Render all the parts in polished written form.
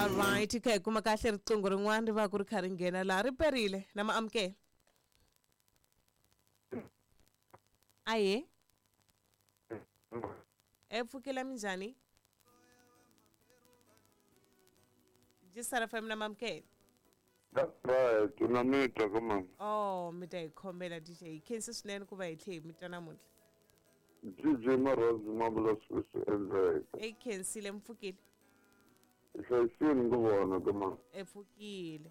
Alright, hi kha hi kuma kahle riqingho rin'wana ri va ku ri kha ri nghena laha ri perile na ma amukela. Aye. E pfukela minjhani? Jisara FM na mamukela. That's right, na mi twa ka mama. Oh, mi ta hi khomela DJ. Hi khensi swinene ku va hi tlhe hi mi twa namuntlha. DJ Marhozi ma vula swilo swi endleka. E khensile mi pfukile. Hi hlayisile ku vona ka mama. E pfukile.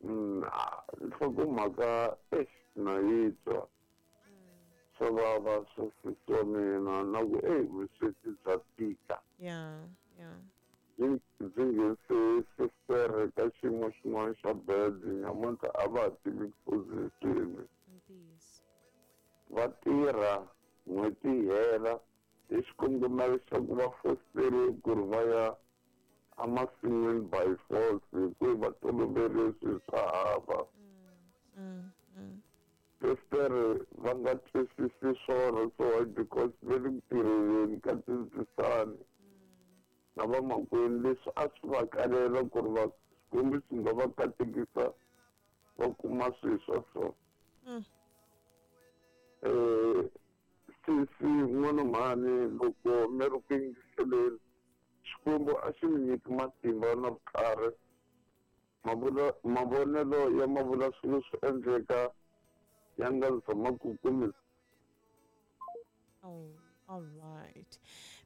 Nhlokomhaka eish na yi twa. Swa vava swa sesi wa mina na ku eyi vusweti bya tika. Yeah, yeah. Byi byi nghenise sestere ka xiyimo xin'wana xa bad nyamuntlha a va ha tivi position. Ntiyiso. Va tirha n'hweti yi hela hi xikongomelo xa ku va fosteriwe ku ri va ya emasin'wini by force hi ku va tolovele swilo swa hava. Sestere va nga twisisi swona so why because va le ku tirheleni ka tindzisani na vamakwenu leswi a swi va kalela ku ri va Xikwembu xi nga va katekisa va kuma swilo swa so. Sesi n'wana mhani loko mi ri ku yingiseleni Xikwembu a xi mi nyiki matimba na vutlhari. Mavonelo ya mavula swilo swi endleka ya nga zama ku kumi. Oh, all right.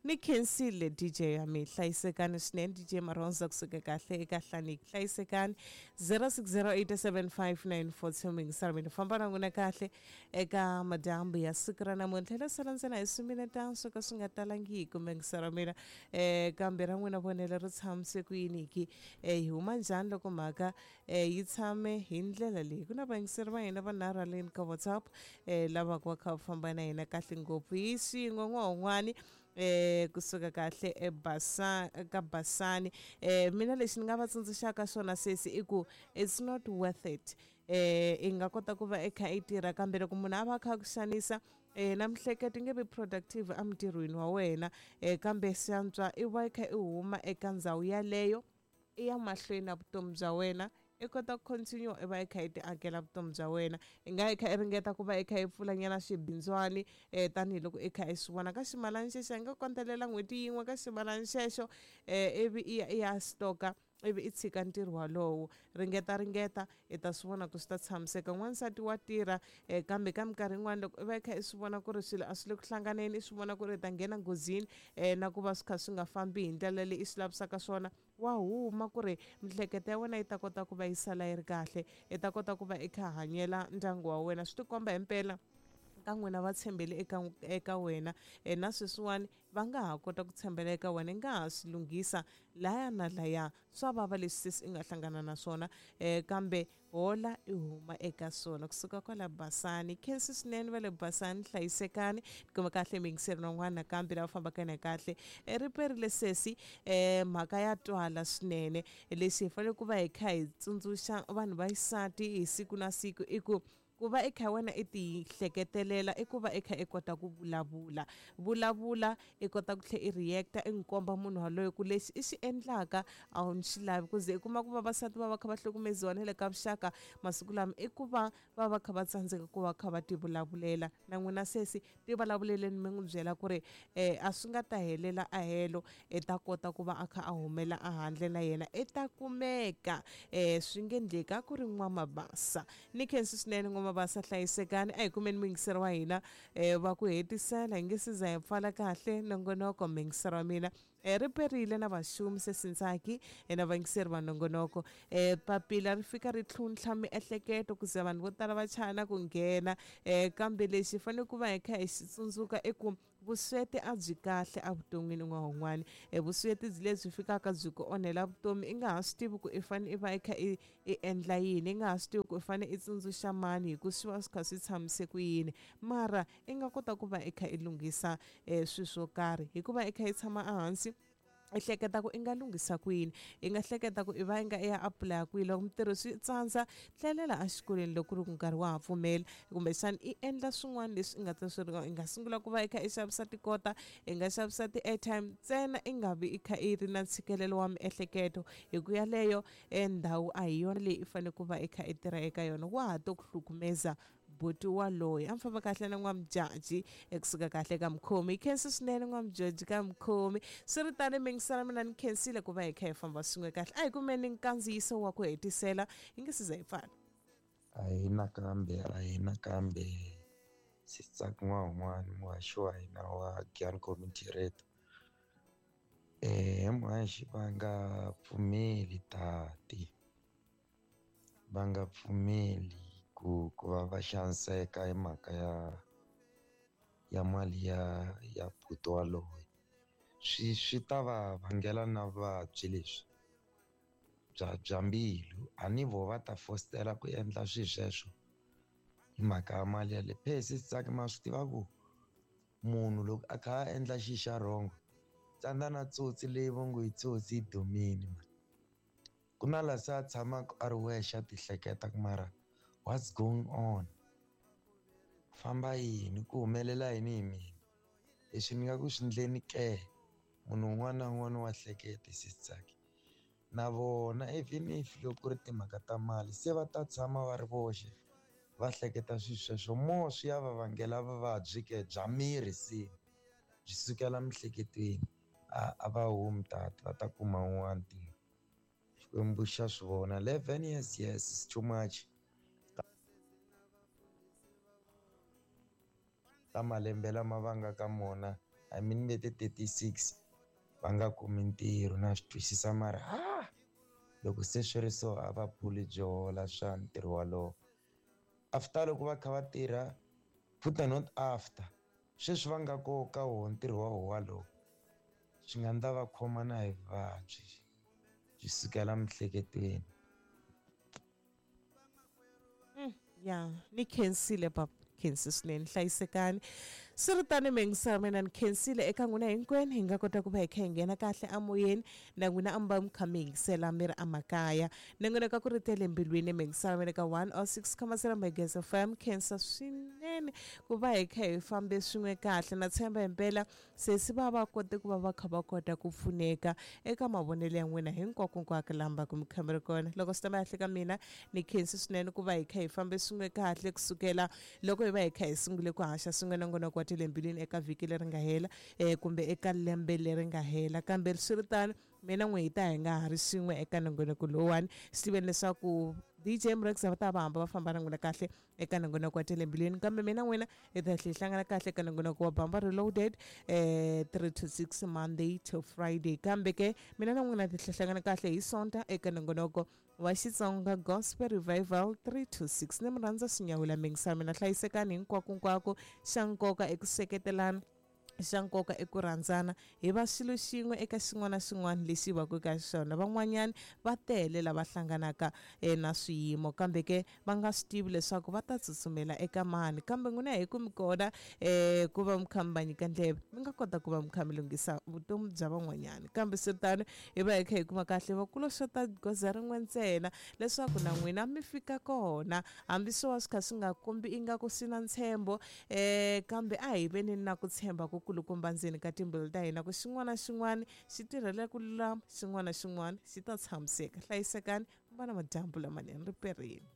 Ni khensile DJ ya mi hlayisekani swinene DJ Maronza kusuka kahle eka Hlaniki. Hlayisekani 06087594 mingisara mina famba na n'wina kahle eka madyambu ya siku ra namuntlha la sala ntsena hi swiminetana swo ka swi nga talangiki mingisara mina kambe ra n'wina vonelo ri tshamise ku yini ki hi huma njhani loko mhaka yi tshame hi ndlela leyi ku na vayingiseri va hina vanharhu haleni ka WhatsApp lava ku va kha va famba na hina kahle ngopfu hi swin'we n'wahun'wani kusuka kahle ebasa ka Basani. Mina lexi ni nga va tsundzuxaka xona sesi i ku it's not worth it. I nga kota ku va i kha i tirha kambe loko munhu a va a kha a ku xanisa na mihleketo yi nge vi productive emintirhweni wa wena kambe swi antswa i va i kha i huma eka ndhawu yaleyo i ya mahlweni na vutomi bya wena i kota ku continue i va i kha i ti akela vutomi bya wena. I nga i kha i ringeta ku va i kha i pfulanyana swibindzwani tanihiloko i kha i swi vona ka ximalani xexo i nga kondzelela n'hweti yin'we ka ximalani xexo ivi i ya i ya stoka ivi i tshika ntirho walowo. Ringeta ringeta i ta swi vona ku swi ta tshamiseka. N'wansati wa tirha kambe ka minkarhi yin'wani loko i va i kha i swi vona ku ri swilo a swi le ku hlanganeni i swi vona ku ri i ta nghena nghozini na ku va swi kha swi nga fambi hi ndlela leyi i swi lavisaka swona wa huma ku ri mihleketo ya wena yi ta kota ku va yi sala yi ri kahle i ta kota ku va i kha hanyela ndyangu wa wena. Swi tikomba himpela ka n'wina va tshembele eka wena na sweswiwani va nga ha kota ku tshembela eka wena i nga ha swi lunghisa laya na laya. Swa vava leswi sesi i nga hlangana na swona kambe hola i huma eka swona kusuka kwala Basani. Khensi swinene va le Basani, hlayisekani kuma kahle miyingiseri van'wana nakambe lava fambaka na kahle. Ri perile sesi mhaka ya twala swinene. Lexi hi fanele ku va hi kha hi tsundzuxa vanhu va xisati hi siku na siku i ku ku va i kha wena i ti hleketelela i ku va i kha i kota ku vulavula. Vulavula i kota ku tlhe i react-a i n'wi komba munhu waloye ku lexi i xi endlaka a wu ni xi lavi ku ze i kuma ku vavasati va va kha va hlukumeziwa na le ka vuxaka masiku lama i ku va va va kha va tsandzeka ku va kha va ti vulavulela. Na n'wina sesi ti vulavuleleni mi n'wi byela ku ri a swi nga ta helela a helo i ta kota ku va a kha a humela a handle na yena i ta kumeka swi nge ndleki a ku ri N'wamabasa. Ni khensi swinene N'wamabasa hlayisekani a hi kumeni muyingiseri wa hina va ku hetisela hi nge se za hi pfala kahle nongonoko muyingiseri wa mina ri perile na vaxumi sesi Ntsaki na vayingiseri va nongonoko papila ri fika ri tlhuntlha miehleketo ku ze vanhu vo tala va chaya na ku nghena kambe lexi hi fanele ku va hi kha hi xi tsundzuka i ku vusweti a byi kahle evuton'wini n'wahun'wani. Vusweti lebyi fikaka byi ku onhela vutomi i nga ha swi tivi ku i fanele i va i kha i i endla yini i nga ha swi tivi ku i fanele i tsundzuxa mani hi ku swi va swi kha swi tshamise ku yini mara i nga kota ku va i kha i lunghisa swilo swo karhi hikuva i kha i tshama ehansi I hleketa ku i nga lunghisa kwini, i nga hleketa ku i va i nga i ya apulaya kwihi. Loko mintirho swi tsandza, tlelela exikolweni loko ku ri ku nkarhi wa ha pfumela, kumbexana i endla swin'wana leswi i nga ta swi i nga sungula ku va i kha i xavisa tikota, i nga xavisa ti-airtime, ntsena i nga vi i kha i ri na ntshikelelo wa miehleketo, hi ku yaleyo e ndhawu a hi yona leyi i fanele ku va i kha i tirha eka yona, wa ha to ku hlukumeza buti waloye. A mi famba kahle na n'wamujaji ekusuka kahle ka mukhomi. Hi khensi swinene n'wamujaji ka mukhomi. Swi ri tani mingisana mina ni khensile ku va hi kha hi famba swin'we kahle. A hi kumeni nkandziyiso wa ku hetisela hi nge se za hi pfala. A hi nakambe, a hi nakambe Sisitsaki n'wana muhaxi wa hina wa Giyani Community Radio. Muhaxi va nga pfumeli tati, va nga pfumeli ku va va xaniseka hi mhaka ya mali ya buti waloye. Swi ta va vangela na vuvabyi leswi bya mbilu. A ni vo va ta fositela ku endla swilo sweswo hi mhaka ya mali yaleyo. Phe Sisitsaki ma swi tiva ku munhu loko a kha a endla xilo xa wrong, tsandza na tsotsi leyi va ngo yi tsotsi yi dumile mani. Ku na laha se a tshamaka a ri wexe a ti hleketa ku mara what's going on, famba yini, ku humelela yini hi mina, leswi ni nga ku swi endleni ke. Munhu un'wana na un'wana wa hleketa Sisitsaki. Na vona even if loko ku ri timhaka ta mali se va ta tshama va ri voxe va hleketa swilo sweswo, more swi ya va vangela vuvabyi ke bya miri, se byi sukela miehleketweni. A va humi tati, va ta kuma un'wana ntirho. Xikwembu xa swi vona. 11 years, yes, it's too much. Ta malembe lama va nga ka mona, I mean ve ti 36 va nga kumi ntirho, na swi twisisa mara loko se swi ri so a va phuli byi hola swa ntirho walowo. After loko va kha va tirha, futhi not after, sweswi va nga ko ka wona ntirho wa wona walowo, swi nga ndla va khoma na hi vuvabyi byi sukela miehleketweni. Ya, ni khensile papa, khensi swinene, hlayisekani. Swi ri tani mingisana mina ni khensile eka n'wina hinkwenu, hi nga kota ku va hi kha hi nghena kahle amoyeni na n'wina a mi va mi kha mi yingisela mi ri emakaya. Ni n'wina ka ku ri tele mbilwini mingisana mina ka 106.0 Magezi FM. Khensa swinene ku va hi kha hi fambe swin'we kahle. Na tshemba himpela sesi va va kote ku va va kha va kota ku pfuneka eka mavonelo ya n'wina hinkwakonkwako laha va ku mi kha mi ri kona. Loko swi ta mahle ka mina ni khensi swinene ku va hi kha hi fambe swin'we kahle kusukela loko hi va hi kha hi sungule ku haxa swin'we nongonoko wa tele mbilwini eka vhiki leri nga hela kumbe eka lembe leri nga hela. Kambe swi ri tano mina n'we hi ta hi nga ha ri swin'we eka nongonoko lowuwani, swi tiveni leswaku DJ Mrex va ta va hamba va famba na n'wina kahle eka nongonoko wa tele mbilwini, kambe mina n'wina hi ta tlhela hi hlangana kahle eka nongonoko wa Bamba Reloaded 3 to 6 Monday to Friday. Kambe ke mina na n'wina hi tlhela hlangana kahle hi Sonta eka nongonoko wa Xitsonga Gospel Revival 3 to 6. Ni mi rhandza swinyawula mingisana mina, hlayisekani hinkwakonkwako. Xa nkoka eku seketelana, xa nkoka i ku rhandzana, hi va xilo xin'we eka xin'wana na xin'wana lexi va ku ka xona. Van'wanyana va tele lava hlanganaka na swiyimo, kambe ke va nga swi tivi leswaku va ta tsutsumela eka mani. Kambe n'wina hi ku mi kona ku va mi kha mi va nyika ndleve, mi nga kota ku va mi kha mi lunghisa vutomi bya van'wanyana. Kambe swi tano hi va hi kha hi kuma kahle va kulo xota goza rin'we ntsena leswaku na n'wina mi fika kona, hambi swo va swi kha swi nga kombi ingaku swi na ntshembo, kambe a hi veni na ku tshemba ku kulukumba ndzeni ka timbilu ta hina ku xin'wana na xin'wana xi tirhela ku lulama, xin'wana na xin'wana xi ta tshamiseka. Hlayisekani, va na madyambu lamanene, ri perini.